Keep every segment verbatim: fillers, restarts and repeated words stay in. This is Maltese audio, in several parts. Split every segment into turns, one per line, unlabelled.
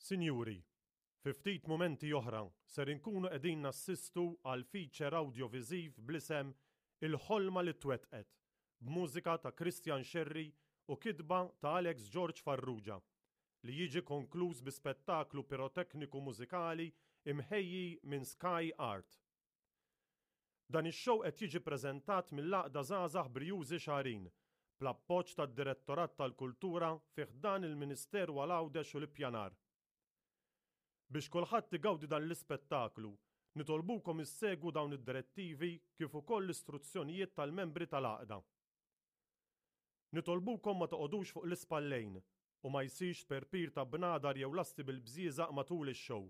Sinjuri, fi ftit mumenti oħra ser inkunu qegħdin nassistu għal feature awdjoviżiv bl-isem Il-Ħolma li Twettqet, b'mużika ta' Christian Scerri u kitba ta' Alex George Farrugia, li jiġi konkluż bi spettaklu pirotekniku mużikali imħejji minn Sky Art. Dan ix-show qed jiġi preżentat mill-Għaqda Żgħażagħ Brijużi Xagħrin, bl-appoġġ tad-Direttorat tal-Kultura fi ħdan il-Ministeru għal Għawdex u l-Ippjanar. Biex kulħadd igawdi dan l-ispettaklu, nitolbukom issegwu dawn id-direttivi kif ukoll l-istruzzjonijiet tal-membri tal-għaqda. Nitolbukom ma toqogħdux fuq l-ispallejn u ma jsirx tperpir ta' bnadar jew lasti bil-bżieżaq matul ix-show.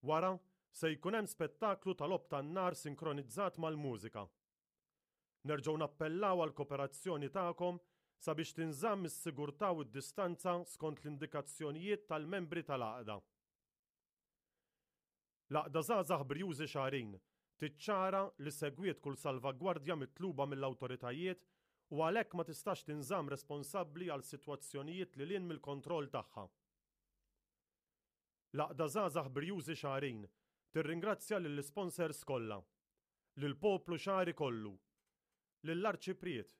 Wara, se jkun hemm spettaklu ta' logħob tan-nar sinkronizzat mal-mużika. Nerġgħu nappellaw għall-kooperazzjoni tagħkom sabiex tinżamm is-sigurtà u d-distanza skont l-indikazzjonijiet tal-membri tal-għaqda. L-Għaqda Żgħażagħ Brijużi Xagħrin tiċċara li segwiet kull salvagwardja mitluba mill-awtoritajiet u għalhekk ma tistax tinżamm responsabbli għal sitwazzjonijiet lil hinn mill-kontroll tagħha. L-Għaqda Żgħażagħ Brijużi Xagħrin tirringrazzja lill-isponsors kollha, lill-poplu Xagħri kollu, lill-Arċipriet,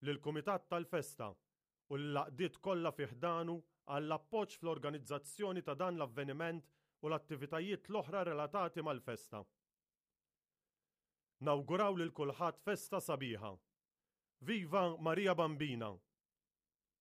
lill-Kumitat tal-Festa u lill-għaqdiet kollha fi ħdanu għall-appoġġ fl-organizzazzjoni ta' dan l-avveniment u l-attivitajiet l-oħra relatati mal-festa. Nawguraw lil kulħadd festa sabiħa. Viva Maria Bambina!